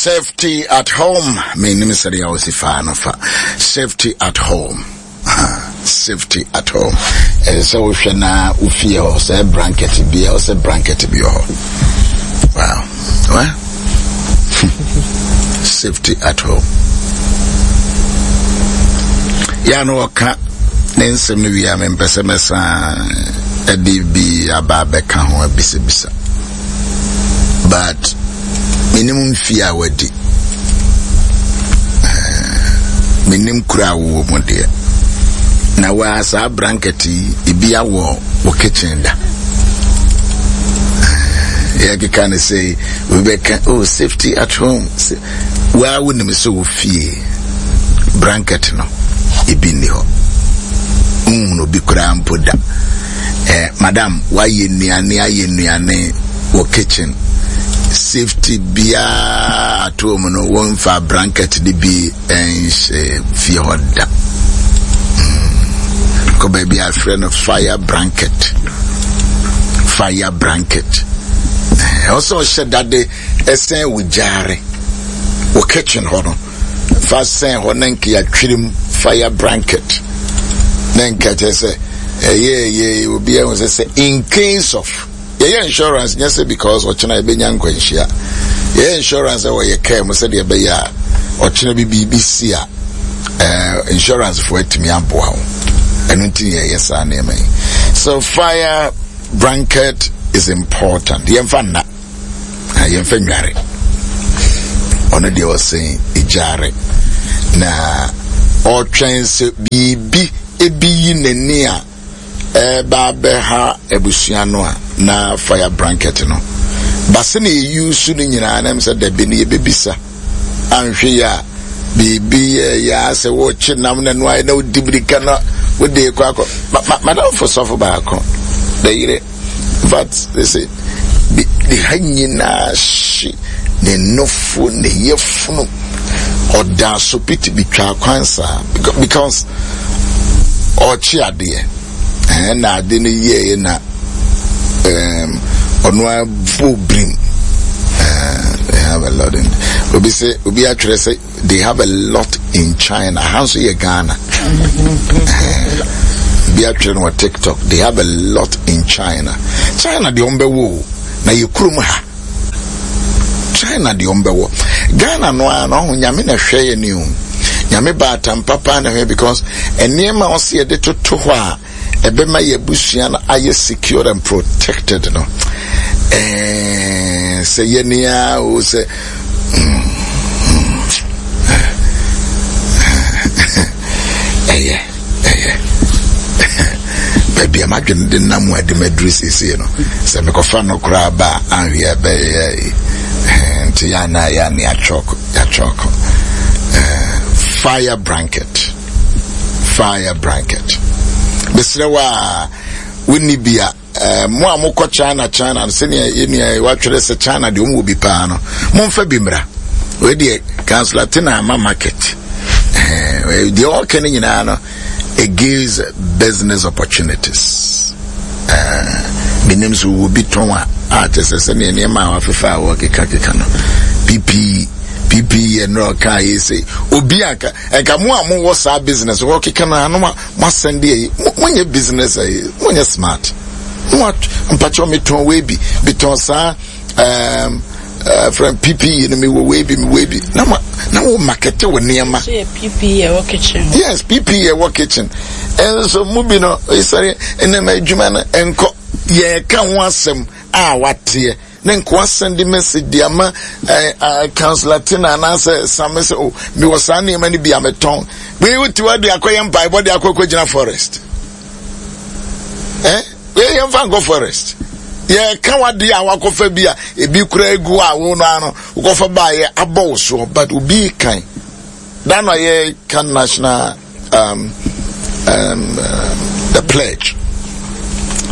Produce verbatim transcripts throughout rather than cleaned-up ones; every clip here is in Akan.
Safety at home. Menim sɛdeɛ a wɔsi faa no fa. Safety at home. Safety at home. Ɛsɛ sɛ wohwɛ na wofie hɔ sɛ blanket bi a ɔsɛ blanket bi wɔ hɔ. Wow. What? Safety at home. Ya no ɔka ne nsɛm no wie a, mempɛ sɛ mɛsan ɛde bi aba abɛka ho abisabisa, but menim mfie a wadi, menim kura a wowɔ mu deɛ na waa saa blanket yi ebi awɔ wɔ kitchen da. Yɛkeka ne sɛ obi bɛka, "Oh, safety at home." Waa wonim sɛ wɔ fie blanket no ebi nni hɔ, nhunu obi koraa mpo da. eh, madam wayɛ nnuane, ayɛ nnuane wɔ kitchen, safety biara at home no, wɔmfa blanket de bi nhyɛ fie hɔ da. mm. kɔ baabi a afrɛ no fire blanket, fire blanket. Ɛwɔ sɛ ɔhyɛ dade ɛsɛn wɔ gyaare wɔ kitchen hɔ no, fa sɛn hɔ na nka yɛatwerem fire blanket na nka kyerɛ sɛ ɛyɛ ɛyɛ obi ɛho sɛ sɛ in case of yɛyɛ insurance, nyɛ sɛ because ɔkyena yɛbɛnya nkwanhyia. Yɛyɛ insurance ɛwɔ yɛ kaa mu sɛdeɛ ɛbɛyɛ a ɔkyena bi biribi si a, ɛɛ insurance foɔ atumi aboa wo. Ɛno nti yɛyɛ saa nneɛma yi. So fire blanket is important. Yɛmfa nna, yɛmfa nware. Ɔno deɛ ɔsɛn egyare na ɔtwɛn sɛ biribi ebi yi n'ani a ɛba abɛha abusua no a, na fire blanket no base na eyi so no nyinaa nam sɛ dabi no yɛbɛbisa anhwɛ yi a biribi yɛ yɛ asɛ wɔkye nam na no ayɛ na wodi mirika na wode kɔ akɔ. Madamfo sɔfo baako da yere, in fact, they say ne ha nyinaa hye, ne nofo ne yɛfunu, ɔda so piti bi twa kwan saa because ɔkye adeɛ ɛn na ade no yɛɛ na ɔno abɔ birim. They have a lot in, obi sɛ obi atwerɛ sɛ they have a lot in China. Ha nso yɛ Ghana. Obi atwerɛ no wɔ TikTok, they have a lot in China. China deɛ ɔmbɛwɔ o, na yɛ kurom ha. China deɛ ɔmbɛwɔ, Ghana no ara na ɔho. Nyame na hwɛ yɛ ni o, Nyame baatan papa na hwɛ, because nneɛma a ɔsi yɛde toto hɔ a ɛbɛma yɛ abusua no ayɛ secure and protected no, ɛɛ sɛ yɛ nia o sɛ mm, ɛyɛ ɛyɛ baabi a madwene de nam a de maduru seesei no, sɛ mekɔfa no koraa ba a, anhwɛ ɛbɛyɛ nti yɛ ana yɛ ane atwɔko yɛatwɔko. Fire blanket, fire blanket, mesrɛ wo a wonni bi a, mo a mokɔ China, China no, sɛnea yɛnua watwerɛ sɛ China deɛ ɔmwɔ bi paa no, momfa bi mmra. Wei deɛ Councillor Tena ama market deɛ ɔka no nyinaa no, it gives business opportunities. Menim sɛ wɔ bi tɔn a a kyɛ sɛ sɛnea nneɛma a wafefa a wɔkekakeka no, P P E, P P E ɛnora ɔka yɛ sɛ obi a nka mo a mowɔ saa business wɔkeka no ano mo asɛn de ayi, monyɛ business ayi, monyɛ smart mo mpakyɛw. Metɔn wei bi, metɔn saa um, uh, from P P E no, mewɔ wei bi, mewɔ bi na ma na wo market wɔ nneɛma. So yɛ P P E ɛwɔ kitchen. Yes, P P E ɛwɔ kitchen. Ɛnso mu bi no esɔre ɛnam adwuma no nkɔ yɛka ho asɛm a wateɛ ne nkoa send message de ama ɛɛ ɛɛ Councillor Tina anaasɛ Sami sɛ, "O, mewɔ saa nneɛma no bi a metɔn." Wei wotu wa de akɔyɛ mpaebɔ de akɔ akɔgyina forest ɛɛ wei yɛn fa nkɔ forest. Yɛka wadeɛ a wakɔfa bi a ebi kura egu a wo no ano wokɔfa baayɛ abɔ wo soɔ, but obi kan da na yɛ kan national um, um, uh, the pledge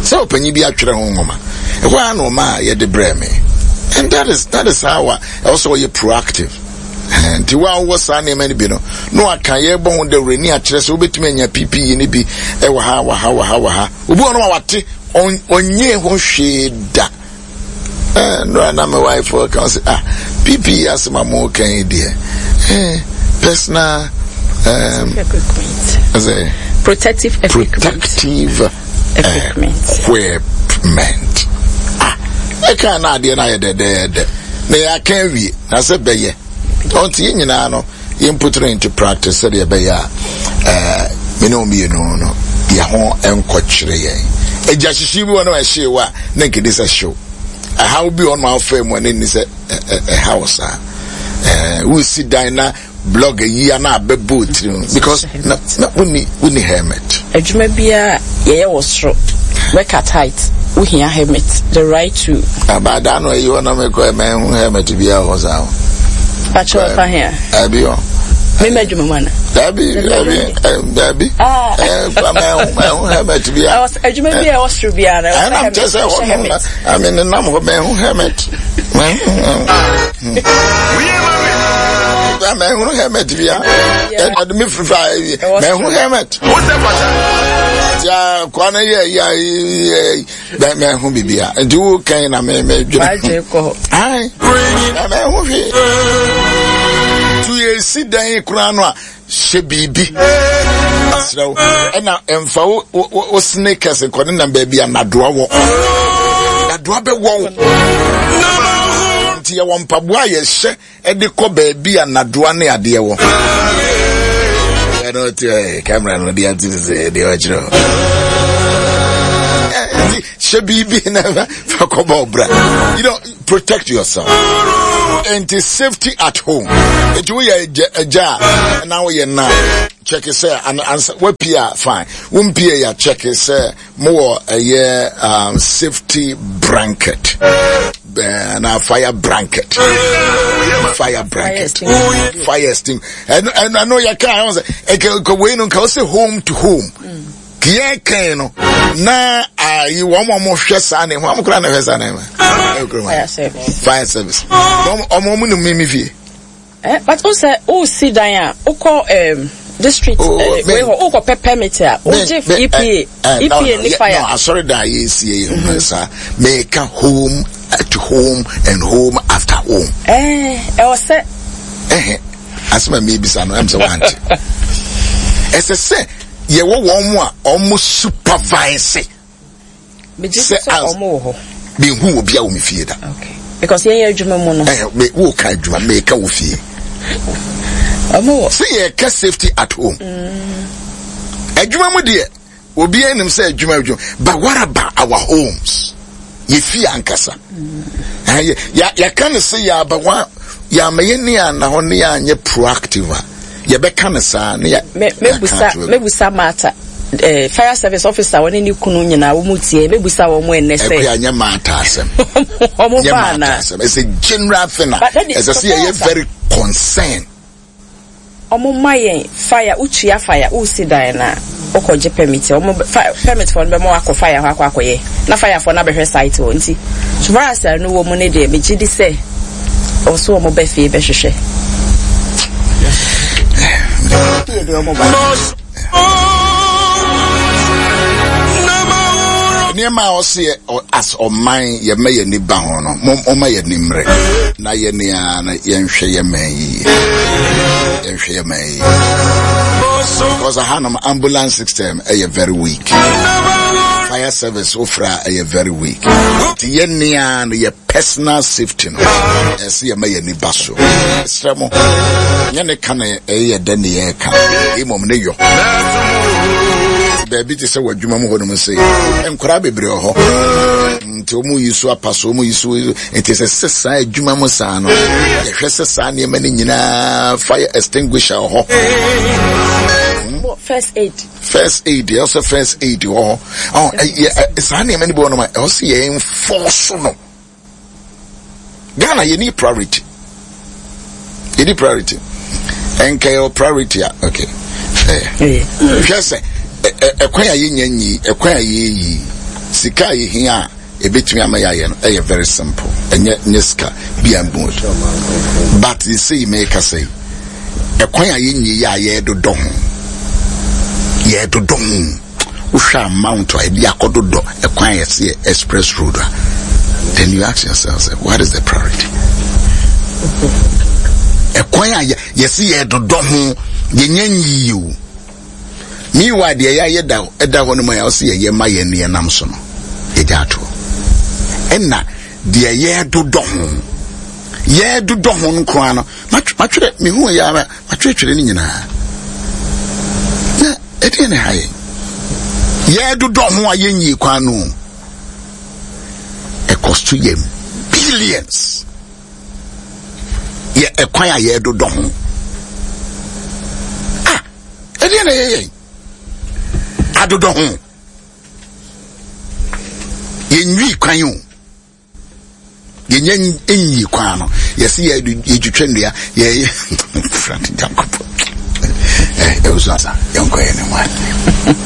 sɛ ɔpanyin bi atwerɛ ho nwoma ɛhɔ a na ɔma a yɛde brɛ me, and that is that is how a ɛwɔ sɛ ɔyɛ proactive. Nti wo a wowɔ saa nneɛma no bi no na waka yɛbɔ ho dawuro ni akyerɛ sɛ wobɛtumi anya P P E no bi ɛwɔ ha, wɔ ha, wɔ ha, wɔ ha. Obi wɔ no a wate ɔnyɛ ho hwee da. Nnora na me wife ka sɛ, "Ah, P P E asɛm a mo kan yi deɛ, eh, personal um, equipment. Sɛ Protective equipment. Protective equipment. Equipment. Ah, ɛka na adeɛ no ayɛ dɛdɛɛdɛ na yɛaka awie na sɛ bɛyɛ ɔnti yɛn nyinaa no, yɛn put it into practice sɛdeɛ ɛbɛyɛ a ɛɛ me ne wɔn mmienu no, yɛn ho nkɔkyerɛ yɛn. Agya hyehye bi wɔ no, ɛhye wa na nkedi sɛ hyew. Ɛhaw bi wɔ no afɛ mu a ne ni sɛ ɛhaw saa. ɛɛ wusi dan na block ayi a na abɛbɔ otiri because na na wuni wuni helmet. Adwuma biara yɛyɛ wɔ soro, work at height, wohia helmet, the right to. Abaada no ayi hɔ na mekɔ ɛmɛ hu helmet biara wɔ saa ho. Pakyɛ, ɔfa hea? Ɛbi hɔ. Mema adwuma mu ana? Dabi, dabi, dabi. Ɛɛ mɛ hu mɛ hu helmet biara. Adwuma bi a ɛwɔ soro biara na ɛwɔ helmet. Ɛnam kyɛ sɛ hɔ no na ami ne nam hɔ, mɛ hu helmet, mɛ hu mɛ hu helmet biara. Ɛna mi firi fa mɛ hu helmet. Tia kwan yɛ yɛ yɛ mɛ mɛ hu bibia, nti wo kan na mɛ mɛ dwene. Ayi, mɛ mɛ hu hwee. Tu yɛ si dan koraa no a, hyɛ biribi serɛw, ɛna mfa wo wo wo sneakers nkɔ ne nam baabi a nadoa wɔ, nadoa bɛ wɔ wo. Nti yɛwɔ mpaboa a yɛhyɛ ɛde kɔ baabi a nadoa ne adeɛ wɔ. Ɛno ti ɛ camera no de ati sɛ deɛ ɔkyerɛ o, nti hyɛ biribi na fa kɔbɔ ɔbra. you know protect yourself. Nti safety at home, nti woyɛ agya a na woyɛ na check sɛ ansa wapie a, fine, wompie ya, check sɛ mowɔ ɛyɛ um, safety blanket na fire blanket, fire blanket, fire extinguisher. Ɛno ɛno yɛ kaa ɛwɔ sɛ ɛkɛ ɛkɛ wei no nka ɔsɛ home to home yɛ kɛn no na ayi wɔn a wɔhwɛ saa ne ho, wɔn kora na hwɛ saa ne ho. Fire service. Fire service, wɔn wɔn wɔn nim mi fie. Eh, but o sɛ o si dan a, o kɔ um, district oh, eh, wei hɔ, o kɔ pɛ permit a, o gye E P A, E P A ni fire. No, asɔre dan yɛ esie yɛ ho saa, mɛka home at home and home after home. Ɛɛ, ɛwɔ sɛ. Ɛhɛn, asɛm a mebisa no, ɛm sɛ wante. Ɛsɛ sɛ yɛwɔ wɔn mu a wɔn supervise. Sɛ ɔmo wɔ hɔ. Mehu obi a wɔ me fie da. Okay, because yɛn yɛ adwuma mu no. Ɛɛ, me wo ka adwuma, meka wɔ fie. Ɔmo wɔ. Sɛ yɛka safety at home. Adwuma mu deɛ, obi anim sɛ adwuma adwuma, but what about our homes? Yɛ fie ankasa. Mm. Yɛka ne sɛ yɛaba wa yɛama yɛ ni ana hɔ ne yɛanyɛ proactive a, yɛbɛka ne saa ne yɛ. Mebusa mebusa maata eh, fire service officer, wɔne ne kunu nyinaa wɔn mu tie, mebusa wɔn mu ɛnɛ sɛ. Ɛkua nyɛ maata asɛm. Wɔn ba ana? Asɛm, it's a general thing a ɛsɛ sɛ yɛyɛ very concerned. Ɔmo ma yɛn fire, wotua fire, wosi dan na wokɔgye permit, ɔmo permit fɔ no bɛma wakɔ fire hɔ akɔ akɔyɛ na fire fɔ no abɛhwɛ site hɔ. Nti so far as ɛno wɔ mu ne deɛ, megye di sɛ ɔso ɔmo bɛ fie bɛhwehwɛ fie deɛ ɔmo ba. Nneɛma a ɔsi as ɔman yɛmɛ yɛn ni ba ho no, mo ɔma yɛn ni mmerɛ na yɛn ni na yɛnhwɛ yɛn mɛn yie, yɛnhwɛ yɛn mɛn yie, because ahanom ambulance system ɛyɛ very weak, fire service ofra ɛyɛ very weak, nti yɛn nia no, yɛ personal safety no, ɛsɛ yɛmɛ yɛn ni ba so. Ɛsrɛ mo, nyɛ ne ka na ɛyɛ dɛ ne yɛ ka, emom ne yɔ baabi te sɛ wɔ adwuma mu hɔ nom sɛ nkwaraa bebree wɔ hɔ, nti wɔn yi so apa so, wɔn yi so. Nti sɛ sɛ saa adwuma mu saa no, yɛhwɛ sɛ saa nneɛma no nyinaa, fire extinguisher wɔ hɔ. First aid. First aid, ɛwɔ sɛ first aid wɔ hɔ. Ɔ ɛyɛ saa nneɛma no bi wɔ nom a ɛwɔ sɛ yɛn enforce no. Ghana, yɛ ni priority, yɛ ni priority. Ɛnkɛ yɛ priority a, okay, ɛɛ hwɛ sɛ ɛkwan a yɛnya nyi, ɛkwan a yɛyi sika a yɛhia a ebetumi ama yɛayɛ no, ɛyɛ very simple. Ɛnyɛ nyɛ sika bi a mbo, but sɛ yi mɛka sɛ ɛkwan a yɛnyi yɛ a yɛdodɔ ho, yɛdodɔ ho, wohwɛ amount a ebi akɔdodɔ ɛkwan a yɛsɛ yɛ express road a, then you ask yourself, say, what is the priority? Ɛkwan a yɛsi yɛ dodɔ ho yɛnyɛ nyiyi o. Meanwhile deɛ yɛayɛ da ɛda hɔ no mu a yɛsɛ yɛyɛ ma yɛn ne yɛnam so no yɛgya atoɔ. Ɛna deɛ yɛdodɔ ho yɛdodɔ ho no koraa no matwerɛ mehu yɛ ara matwerɛtwerɛ no nyinaa na ɛdeɛ ne ha yɛn yɛdodɔ ho a yɛnyie kwan no ɛkɔsto yɛ billions yɛ ɛkwan a yɛdodɔ ho ah ɛdeɛ na ɛyɛ yɛn adodɔ ho yɛnwi kwan o yɛnyɛ nyi kwan no yɛsi yɛ yɛtwitwa nnua yɛyɛ frante Nyankopɔn ɛ ɛwɔ so asa yɛnkɔ yɛ ne mu a.